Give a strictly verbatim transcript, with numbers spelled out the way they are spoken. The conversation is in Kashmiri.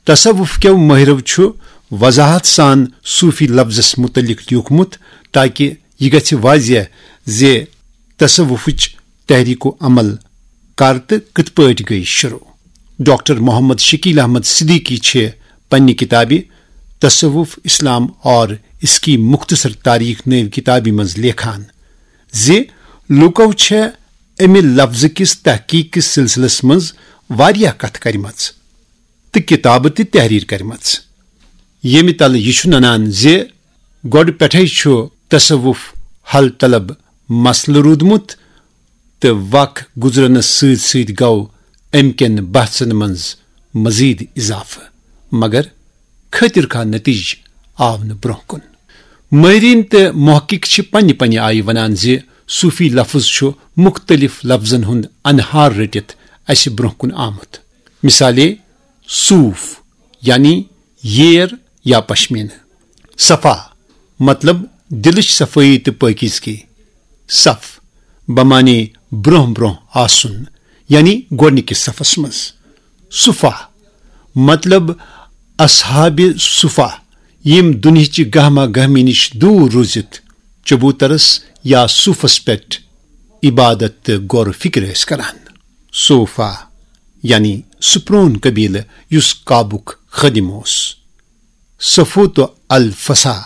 تصوف کیو مٲہرو چھُ وضاحت سان صوفی لفظس متعلق لیوٗکھمُت، تاکہ یہِ گژھِ واضح زِ تصوفٕچ تحریک و عمل کر تہٕ کِتھ پٲٹھۍ گٔے شروع۔ ڈاکٹر محمد شکیل احمد صدیقی چھِ پننہِ کتابہِ تصوف، اسلام اور اس کی مختصر تاریخ نٲوۍ کتابہِ منٛز لیکھان زِ لوٗکو چھےٚ امہِ لفظہٕ کِس تحقیق کِس سلسلس منٛز واریاہ کتھٕ کرِمژٕ تہٕ کتابہٕ تہِ تحریر کرِمژٕ، ییٚمہِ تلہٕ یہِ چھُ ننان زِ گۄڈٕ پٮ۪ٹھے چھُ تصوف حل طلب مسلہٕ روٗدمُت تہٕ وق گُزرنس سۭتۍ سۭتۍ گوٚو امہِ کٮ۪ن بحثن منٛز مزید اضافہٕ، مگر خٲطر خواہ نتیجہٕ آو نہٕ برونٛہہ کُن۔ مٲہریٖن تہٕ محقق چھِ پننہِ پننہِ آیہِ ونان زِ صوفی لفظ چھُ مختلف لفظن ہُنٛد انہار رٔٹِتھ اسہِ برونٛہہ کُن آمُت۔ مثالے، صوف یعنی ییر یا پشمینہٕ۔ صفا مطلب دلٕچ صفٲیی تہٕ پٲکیزگی۔ صف بمانے برونٛہہ برونٛہہ آسُن، یعنی گۄڈنِکِس صفس منٛز۔ صفا مطلب اصحاب صفا، یِم دُنہِچہِ گہما گہمی نِش دوٗر روٗزِتھ چبوترس یا صوفس پٮ۪ٹھ عبادت تہٕ غور و فکر ٲسۍ کران۔ صوفا یعنی سُہ پرون قبیلہٕ یُس کعبُک خٲدِم اوس۔ صفوت الفسا